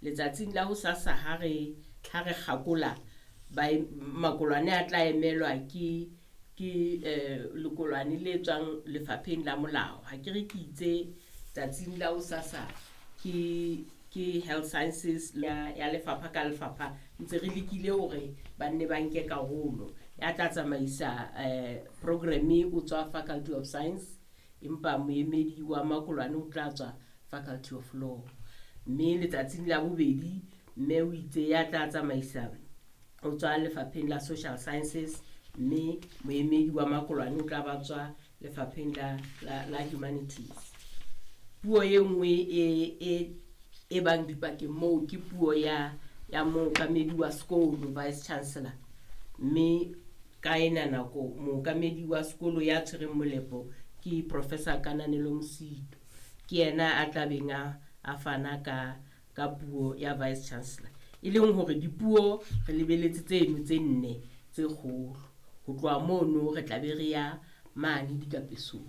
Letsatsing la hosasa ha re kgakola ba makolwane a tla emelwa ke lekolwane le tswang Lefapheng la Molao. Ha ke re ke itse tsatsing la hosasa ke Health Sciences ya lefapha ka lefapha ntse re lekile hore ba nne ba nke karolo. Ya tla tsamaisa programme o tswa Faculty of Science, empa moemedi wa makolwane o tla tswa Faculty of Law. Mme letsatsing la bobedi, mme o itse ya tla tsamaisa o tswa Lefapheng la Social Sciences, mme moemedi wa makolwane o tla ba tswa Lefapheng la Humanities. Puo e nngwe e bang dipakeng moo ke puo ya mookamedi wa sekolo, vice chancellor. Mme ka ena nako mookamedi wa sekolo ya tshwereng molepo ke Professor Kananelo Mosito. Ke yena a tlabeng a fana ka puo ya vice chancellor. E leng hore dipuo re lebeletse tseno tse nne tse kgolo. Ho tloha mono re tla be re ya mane dikapesong,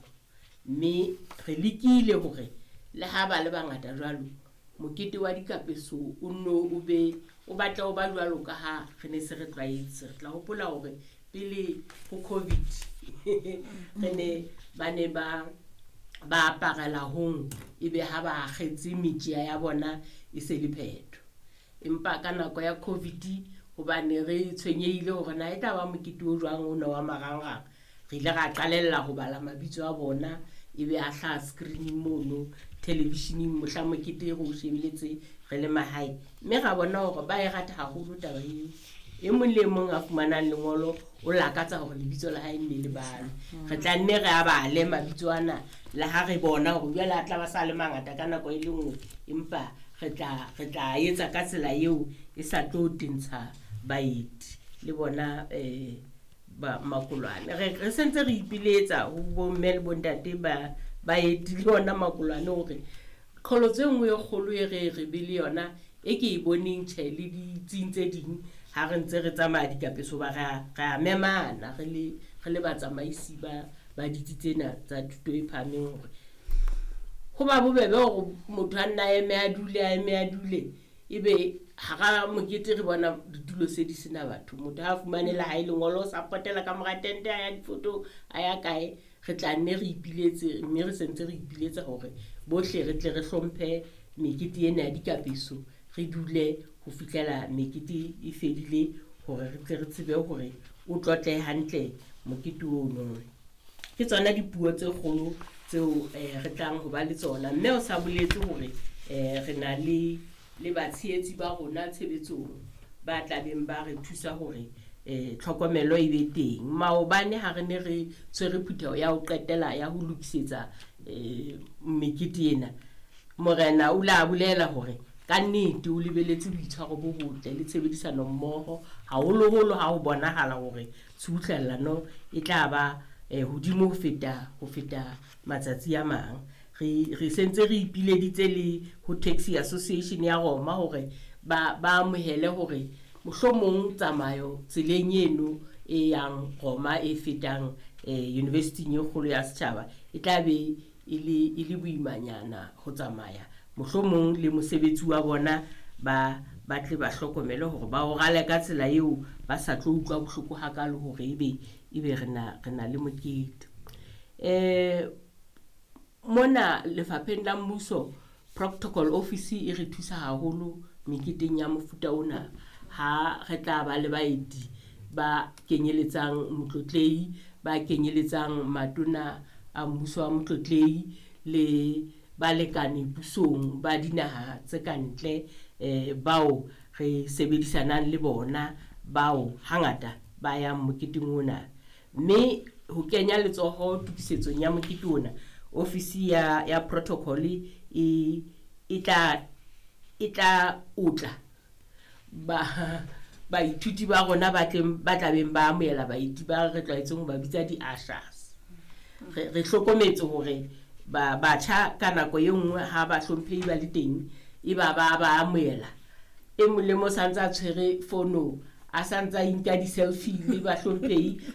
mme re lekile hore le ha ba le bangata jwalo, mokete wa dikapeso o nno o be o batla o ba jwalo ka ha re ne se re tlwaetse. Re tla hopola hore pele ho COVID re ne ba ne ba aparela hong, ebe ha ba akgetse metjea ya bona e se le phetho. Empa ka nako ya COVID, hobane re tshwenyehile hore na e tla ba mokete o jwang ona wa marangrang, re ile ra qalella ho bala mabitso a bona, ebe a hlaha screening mono televisioneng mohla mokete re o shebeletse re le mahae. Mme ra bona hore ba e rata haholo taba eo. E mong le mong a fumanang lengolo o lakatsa hore lebitso la hae nne le balwe. Re tla nne re a bale mabitso ana le ha re bona hore jwale a tla ba sa le mangata ka nako e le nngwe, empa re tla etsa ka tsela eo e sa tlo tentsha baeti le bona ba makolwane. Re sentse re ipiletsa ho bomme le bontate ba baeti le ona makolwane hore qholotso e nngwe e kgolo e re be le yona e ke e boneng, tjhe, le ditsing tse ding ha re ntse re tsamaya dikapeso, ba re a memana re le batsamaisi ba ditsi tsena tsa thuto e phahameng, hore ho ba bobebe hore motho a nna a eme a dule, a eme a dule, ebe hara mokete re bona ditulo se di sena batho. Motho ha a fumane le hae lengolo, o sa potela ka mora tente, a ya difoto, a ya kae. Re tla nne re ipiletse, mme re sentse re ipiletsa hore bohle re tle re hlomphe mekete ena ya dikapeso, re dule ho fihlela mekete e fedile, hore re tle re tsebe hore o tlotlehe hantle mokete ono. Ke tsona dipuo tse kgolo tseo re tlang ho ba le tsona. Mme o sa boletse hore re na le batshehetsi ba rona tshebetsong ba tlabeng ba re thusa hore tlhokomelo e be teng. Maobane ha re ne re tshwere phutheho ya ho qetela ya ho lokisetsa mekete ena, morena o la bolela hore kannete o lebeletse boitshwaro bo botle le tshebedisano mmoho, haholoholo ha ho bonahala hore tshubuhlellano e tla ba hodimo ho feta matsatsi a mang. Re sentse re ipileditse le ho Taxi Association ya Roma hore ba amohele hore mohlomong tsamayo tseleng eno e yang Roma e fetang university e kgolo ya setjhaba e tla be e le boimanyana ho tsamaya. Mohlomong le mosebetsi wa bona ba tle ba hlokomele hore ba o rale ka tsela eo ba sa tlo utlwa bohloko hakalo hore ebe re na le mokete. Mona lefapheng la mmuso, protocol office e re thusa haholo meketeng ya mofuta ona ha re tla ba le baeti ba kenyeletsang motlotlehi, ba kenyeletsang matona a mmuso wa motlotlehi le balekane pusong ba dinaha tse ka ntle, bao re sebedisanang le bona, bao hangata ba yang moketeng ona. Mme ho kenya letsoho tokisetsong ya mokete ona, ofisi ya protocol e tla otla ba baithuti ba rona ba tleng ba tlabeng ba amohela baeti ba re tlwaetseng ho ba bitsa di-ushers. Re hlokometse hore ba batjha ka nako e nngwe ha ba hlomphehi ba le teng, e ba amohela, e mong le mo santse a tshwere fono, a santse a inka di-selfie le bahlomphehi.